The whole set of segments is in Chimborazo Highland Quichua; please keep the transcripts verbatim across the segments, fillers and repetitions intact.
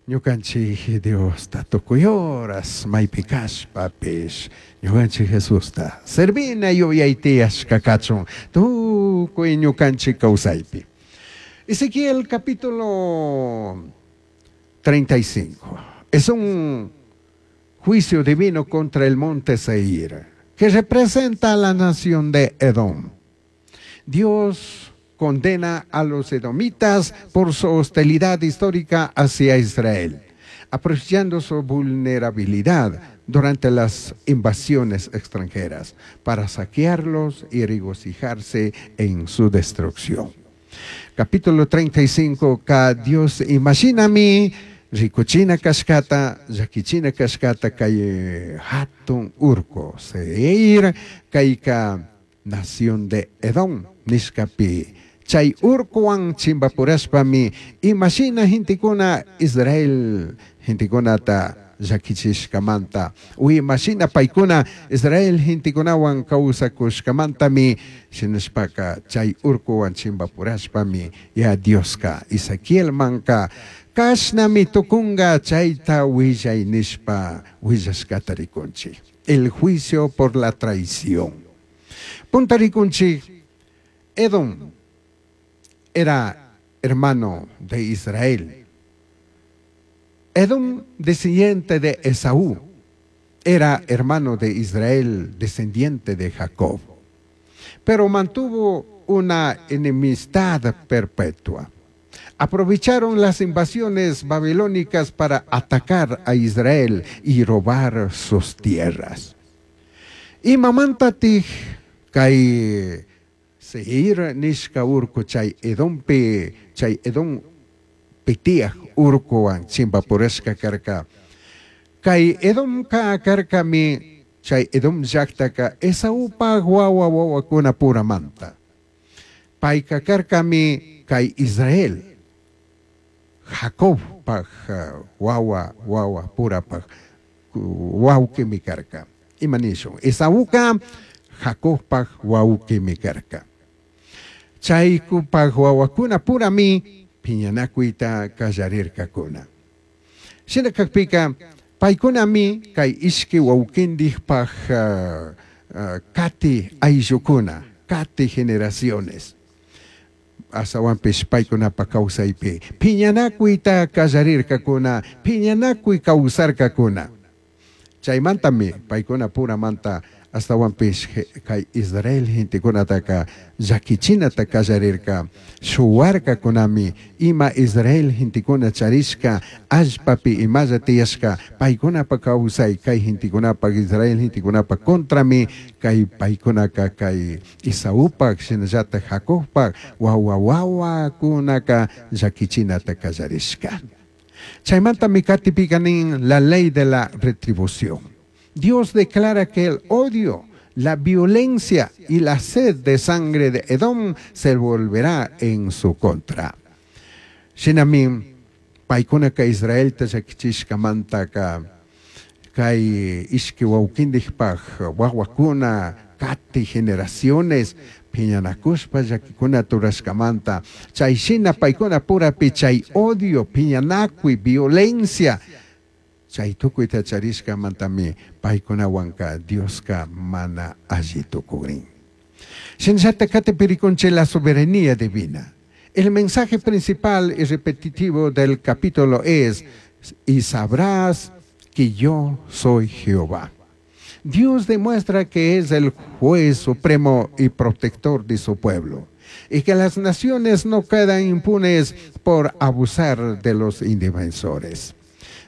Ñukanchik Diosta tukuy horas maypi kashpapish ñukanchik Jesusta servina yuyay tiyashka kachun tukuy ñukanchik kawsaypi. Ezequiel capítulo treinta y cinco es un juicio divino contra el monte Seir, que representa a la nación de Edom. Dios condena a los edomitas por su hostilidad histórica hacia Israel, aprovechando su vulnerabilidad durante las invasiones extranjeras para saquearlos y regocijarse en su destrucción. Capítulo treinta y cinco, ka Dios imashinami rikuchina kashkata, llakichina kashkata kay hatun urku Seir, kayka nación de Edom nishkapi. Chay urkuwan chimbapurashpami imashina gentekuna Israel gentekunata llakichishkamanta u imashina paykuna Israel gentekunawan kawsakushkamantami shinashpaka chay urkuwan chimbapurashpami ya Dioska Ezequielmanka kashnami tukunga chayta willay nishpa willashkata rikunchik. El juicio por la traición. Punta rikunchik, Edom era hermano de Israel. Edom, descendiente de Esaú, era hermano de Israel, descendiente de Jacob. Pero mantuvo una enemistad perpetua. Aprovecharon las invasiones babilónicas para atacar a Israel y robar sus tierras. Imamantatik kay Seir nishka urku chay Edompi, chay Edom tiyaj urkuwan chimbapurashka karka? Kay Edomka karkami, chay Edom llaktaka Esaupaj wawa wawakuna puramanta. Payka karkami kay Israel, Jacobpaj wawa wawa purapaj wawqimi karka. Ima nishun? Esauka Jacobpaj wawqimi karka. Chaykupaj wawakuna purami piñanakuyta kallarirkakuna. Shina kakpika paykunami kay ishki wawkindikpaj uh, uh, kati ayllukuna, kati generaciones. Astawanpish paykunapa kawsaypi piñanakuyta kallarirkakuna, piñanakuy kawsarkakuna. Chaymantami paykuna puramanta astawanpish kay Israel gentekunataka llakichinata kallarirka, shuwarkakunami ima Israel gentekuna charishka allpapi imalla tiyashka paykunapa kawsay kay gentekunapa Israel gentekunapa contrami kay paykunaka kay Esaupak shinallatak Jacobpak wawa wawakunaka llakichinata kallarishka. Chaymantami katipika nin la ley de la retribución. Dios declara que el odio, la violencia y la sed de sangre de Edom se volverá en su contra. Shinami paykunaka Israelta llakichishkamantaka kay ishki wawkindikpaj wawakuna kati generaciones piñanakushpa llakikuna rurashkamanta chay shina paykuna purapi chay odio, piñanakuy, violencia chay tukuyta charishkamantami paykunawanka Dioska mana alli tukurin. Shinallata katipi rikunchik la soberanía divina. El mensaje principal y repetitivo del capítulo es: y sabrás que yo soy Jehová. Dios demuestra que es el juez supremo y protector de su pueblo y que las naciones no quedan impunes por abusar de los indefensores.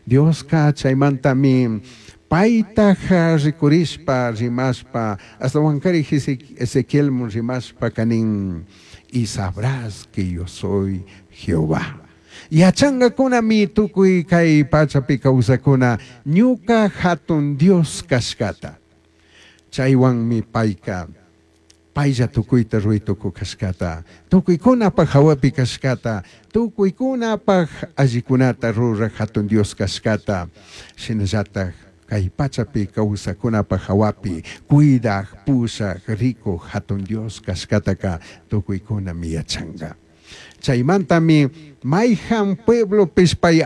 Dios chaymantami paytaja rikurishpa rimashpa astawankari Ezequiel rimashpa kanin: y sabrás que yo soy Jehová. Yachangakunami tukuy kay pachapi kawsakuna ñuka hatun Dios kashkata. Chaywanmi payka paylla tukuyta ruray tukuy kashkata, tukuykunapaj hawapi kashkata, tukuykunapaj allikunata ruraj hatun Dios kashkata, shinallataj kay pachapi kawsakunapaj hawapi cuidaj, pushaj, rikuj hatun Dios kashkataka tukuykunami yachanka. Chaymantami mayhan pueblopish pay